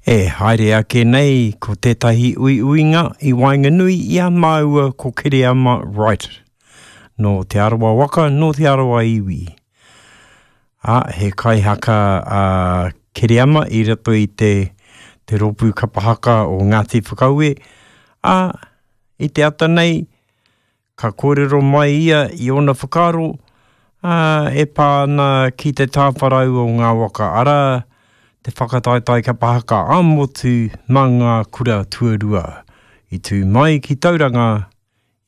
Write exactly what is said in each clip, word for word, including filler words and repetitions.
E haere ake nei ko tētahi uiuinga i waenganui i a māua ko Kereama Wright. Nō Te Arawa waka, nō Te Arawa iwi. Ā, he kaihaka a Kereama i roto i te, te rōpū kapa haka o Ngāti Whakaue. Ā, i te ata nei, ka kōrero mai ia i ōna whakaaro, ā, e pā ana ki te tāwharau o ngā waka, arā, te whakataetae kapa haka ā-motu mā ngā kura tuarua i tū mai ki Tauranga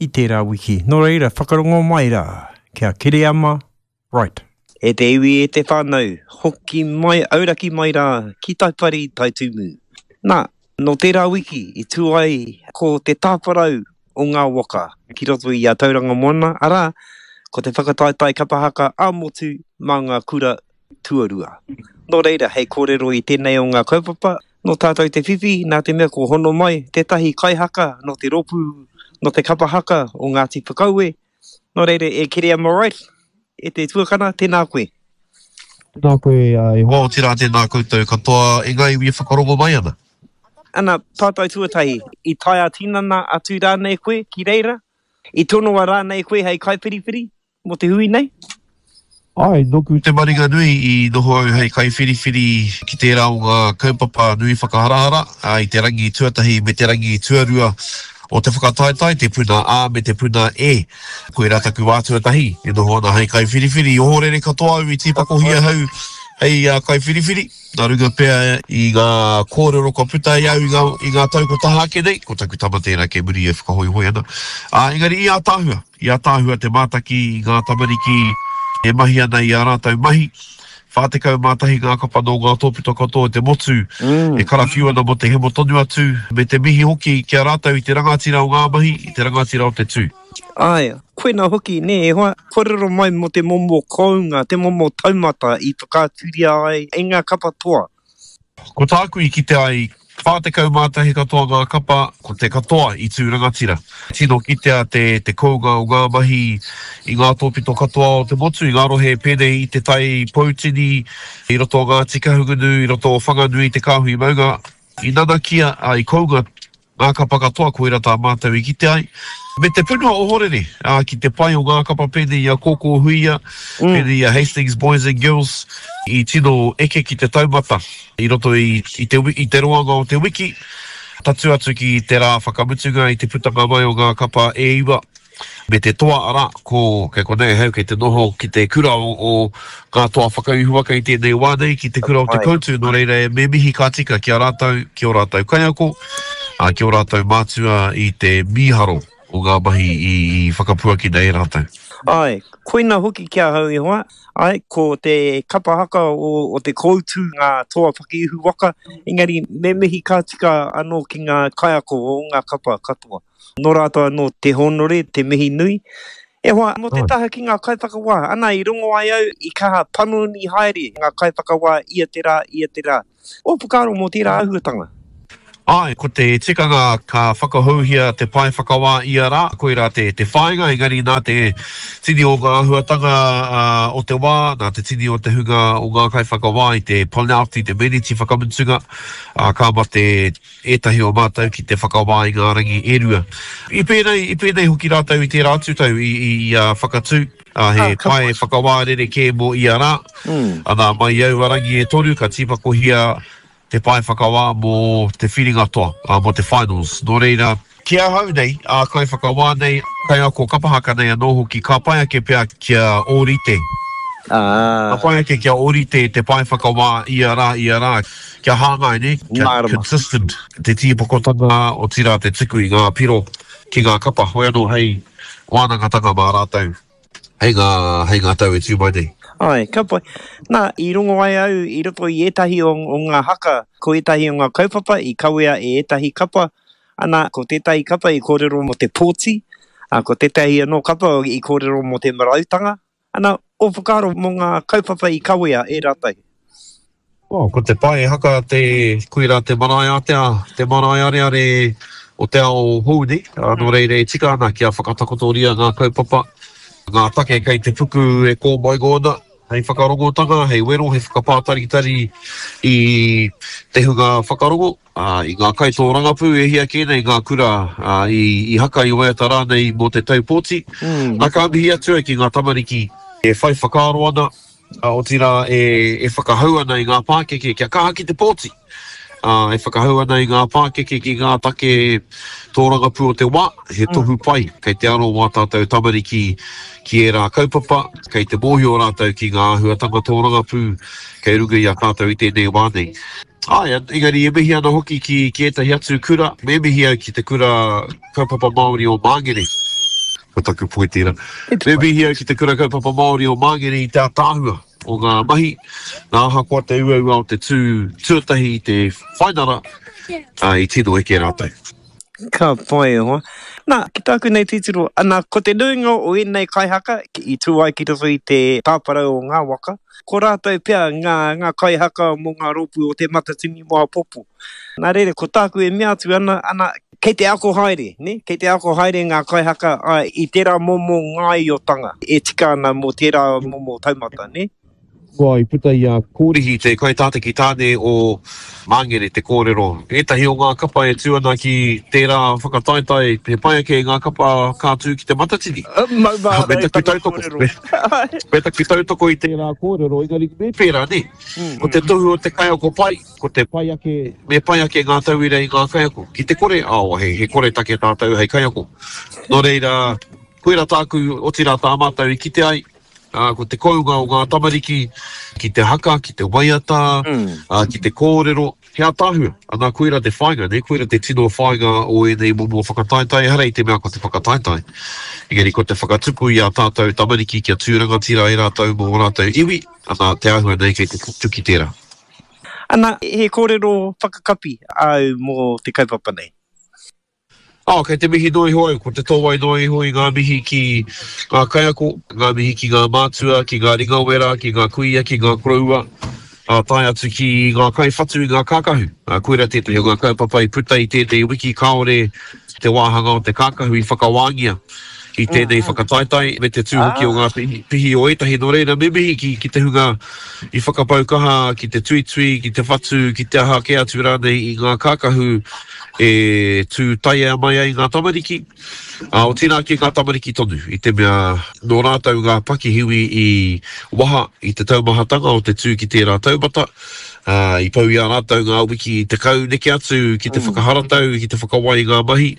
i tērā wiki. Nō reira, whakarongo mai rā, kia Kereama Wright. E te iwi, e te whānau, hoki mai, auraki mai rā ki Taipari, Taitumu. Nā, nō tērā wiki i tū ai ko te tāwharau o ngā waka ki roto i a Tauranga Moana, arā, ko te whakataetae kapa haka ā-motu mā ngā kura tuarua. Nō reira, hei kōrero i tēnei o ngā kaupapa, nō tātou te whiwhi, nā te mea kua hono mai tētahi kaihaka nō te rōpū, nō te kapa haka o Ngāti Whakaue. Nō reira, e Kereama Wright, e te tuakana, tēnā koe. Tēnā koe e hoa, otirā tēnā koutou katoa e ngā iwi e whakarongo mai ana. Ana, pātai tuatahi, i tae ā-tinana atu rānei koe ki reira? I tonoa rānei koe hei kaiwhiriwhiri? Mō te hui nei? Āe, nōku te maringa nui i noho au hei kaiwhiriwhiri ki tērā o ngā kaupapa nui whakaharahara i te rangi tuatahi me te rangi tuarua o te whakataetae, te puna A me te puna E. Koirā taku wā tuatahi e noho ana hei kaiwhiriwhiri. I ohorere katoa au i tīpakohia ahau hei kaiwhiriwhiri, nā runga pea i ngā kōrero kua puta i au i ngā, i ngā tau kua taha ake nei, ko taku tama tērā kei muri e whakahoihoi ana. Ā, engari i ātaahua. I ātaahua te mātaki i ngā tamariki e mahi ana i ā rātou mahi. Whā tekau mā tahi ngā kapa nō ngā tōpito katoa o te motu e karawhiu ana mō te hemo tonu atu, me te mihi hoki ki a rātou i te rangatira o ngā mahi, i te rangatira o te tū. Āe, koina hoki, nē, e hoa, kōrero mai mō te momo kounga, te momo taumata i whakaaturia ai e ngā kapa toa. Ko tāku i kite ai, whā tekau mā tahi katoa ngā kapa, ko te katoa i tū rangatira. Tino kitea te, te kounga o ngā mahi i ngā tōpito katoa o te motu, i ngā rohe pēnei i Te Tai Poutini, i roto o Ngāti Kahungunu, i roto o Whanganui, Te Kāhui Maunga. I nanakia, ā, i kounga Ngā kapa katoa, koira tā mātou i kite ai. Me te punua ohorere, ā, ki te pai o ngā kapa pēnei i a Kōkō Huia, pēnei i a Hastings Boys and Girls, i tino eke ki te taumata i roto i, i te, i te roanga o te wiki, tatū atu ki te rā whakamutunga i te putanga mai o ngā kapa e iwa. Me te toa, arā, ko, kei konei ahau kei te noho ki te kura o, o ngā toa whakaihuwaka i tēnei wā nei, ki te kura o Te Koutu, nō reira e me mihi ka tika ki a rātou, ki ō rātou kaiako, ā, ki ō rātou mātua i te mīharo o ngā mahi i, i whakapuakina e rātou. Āe, koina hoki ki ahau e hoa, āe, ko te kapa haka o, o Te Koutu ngā toa whakaihuwaka, engari me mihi ka tika anō ki ngā kaiako o ngā kapa katoa. Nō rātou anō te hōnore, te mihi nui. E hoa, mō te taha ki ngā kaiwhakawā, ana i rongo ai au i kaha panoni haere ngā kaiwhakawā ia te rā, ia te rā. Ō whakaaro mō tērā āhuatanga? Āe, ko te tikanga ka whakahouhia te pae whakawā ia rā, koirā te te whāinga, engari nā te tini o ngā āhuatanga o te wā, nā te tini o te hunga o ngā kaiwhakawā i te panelti, te meneti whakamutunga, ā, ka mate ētahi o mātou ki te whakawā i ngā rangi e rua. I pēnei, i pēnei hoki rātou i tērā atu tau i, i, i a Whakatū, ā, he pae whakawā rerekē mō ia rā. Anā, mai i aua rangi e toru ka tīpakohia te pae whakawā mō te whiringa toa, ā, mō te finals. Nō reira, ki ahau nei, ā kaiwhakawā nei, kaiako kapa haka nei anō hoki, ka pai ake pea kia ōrite. Ka pai ake kia ōrite te pae whakawā ia rā, ia rā. Kia hāngai, nē, kia consistent te tīpakotanga, otirā te tuku i ngā piro ki ngā kapa, hoi anō hei wānangatanga mā rātou hei ngā, hei ngā tau e tū mai nei. Āe, ka pai. Nā, i rongo ai au i roto i ētahi o, o ngā haka, ko ētahi o ngā kaupapa i kawea e ētahi kapa, ana, ko tētahi kapa i kōrero mō te pōti, ā, ko tētahi anō kapa i kōrero mō te marautanga, Ana, ō whakaaro mō ngā kaupapa i kawea e rātou? Oh, ko te pae haka te, koirā te marae ātea, te marae areare o te ao hou nei, nō reira e tika ana kia whakatakotoria ngā kaupapa, ngā take kei te puku e kōmaingo ana, Hei whakarongotanga, hei wero, hei whakapātaritari i te hunga whakarongo, ā, i ngā kaitōrangapū e hia kē nei ngā kura ā, i, i haka i waiata rānei mō te tau pōti. Mm. Nā, ka mihi atu au ki ngā tamariki e whai whakaaro ana, ā, otirā e, e whakahau ana i ngā pākeke kia kaha ki te pōti. Ā, e whakahau ana i ngā pākeke ki ngā take tōrangapū o te wā, he tohu pai kei te aro wā tātou tamariki ki ērā kaupapa, kei te mōhio rātou ki ngā āhuatanga tōrangapū kei runga i a tātou i tēnei wā nei. Āe, engari e mihi ana hoki ki, ki ētahi atu kura, me mihi au ki te kura kaupapa Māori o Māngere. Ko taku poi tērā. Me mihi au ki te kura kaupapa Māori o Māngere i te ātaahua o ngā mahi, nā ahakoa te uaua o te tū tuatahi i te whainara, ā, i tino eke rātou. Ka pai e hoa. Nā, ki tāku nei titiro, ana, ko te nuinga o ēnei kaihaka i tū ai ki roto i te tāparau o ngā waka, ko rātou pea ngā, ngā kaihaka mō ngā rōpū o Te Matatini mō āpōpō. Nā reira, ko tāku e mea atu ana, ana, kei te ako haere, nē, kei te ako haere ngā kaihaka, āe, i tērā momo ngāiotanga e tika ana mō tērā momo taumata, nē. Kua i puta i a Kōrihi te kaitātaki tāne o Māngere te kōrero. Ētahi o ngā kapa e tū ana ki tērā whakataetae, he pai ake ngā kapa ka tū ki Te Matatini. Maumahara Me i taku tana tautoko, kōrero. me, me taku tautoko i tērā kōrero, engari me pērā, nē. Ko te tohu o te kaiako pai, ko te pai ake, me pai ake ngā tauira i ngā kaiako. Ki te kore, oh, he, he koretake tātou hei kaiako. Nō reira, koirā tāku, otirā tā mātou i kite ai, ā, ko te kounga o ngā tamariki ki te haka, ki te waiata, ā, ki te kōrero, he ātaahua. Anā, koirā te whāinga, nē, koirā te tino whāinga o ēnei momo whakataetae, ehara i te mea ko te whakataetae, engari ko te whakatupu i ā tātou tamariki kia tū rangatira ai rātou mō ō rātou iwi, anā, te āhua nei kei te tutuki tērā. Ana, he kōrero whakakapi āu mō te kaupapa nei? Oh, kei te mihi noa iho au, ko te tōwai noa iho i ngā mihi ki ngā kaiako, ngā mihi ki ngā mātua, ki ngā ringawera, ki ngā kuia, ki ngā koroua, ā, tae atu ki ngā kaiwhatu i ngā kākahu. Ā, koirā tētahi o ngā kaupapa i puta i tēnei wiki kāore te wāhanga o te kākahu i whakawāngia i tēnei whakataetae me te tū hoki o ngā pihi, pihi o ētahi. Nō reira, me mihi ki, ki te hunga i whakapau kaha ki te tuitui, ki te whatu, ki te aha kē atu rānei i ngā kākahu e tū taiea mai ai ngā tamariki, ā, otirā ki ngā tamariki tonu, i te mea nō rātou ngā pakihiwi i waha i te taumahatanga o te tū ki tērā taumata, ā, i pau i a rātou ngā wiki tekau neke atu ki te whakaharatau, ki te whakawai i ngā mahi,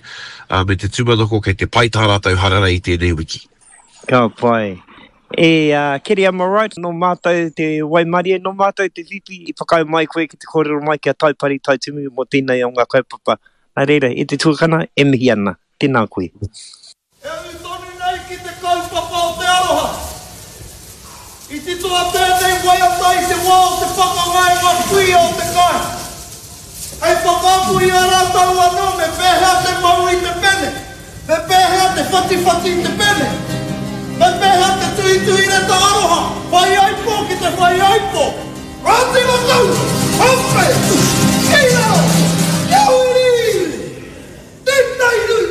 ā, me te tūmanako kei te pai tā rātou hararei i tēnei wiki. Ka pai. E uh, Kereama Wright, nō mātou te waimarie, nō mātou te whiwhi i whakaae mai koe ki te kōrero mai ki a Taipari Taitumu mō tēnei o ngā kaupapa. Nā reira, e te tuakana, e mihi ana. Tēnā koe. E ū tonu nei ki te kaupapa o te aroha. I titoa tēnei waiata i te wā o te pakanga e ngā kuia o te kāinga. Hei whakaako i a rātou anō me pēhea te mau i te pene, me pēhea te whatiwhati i te pene, me pēhea te tuhituhi reta aroha, whaiaipo ki te whaiaipo. Rāti Makau! Hape!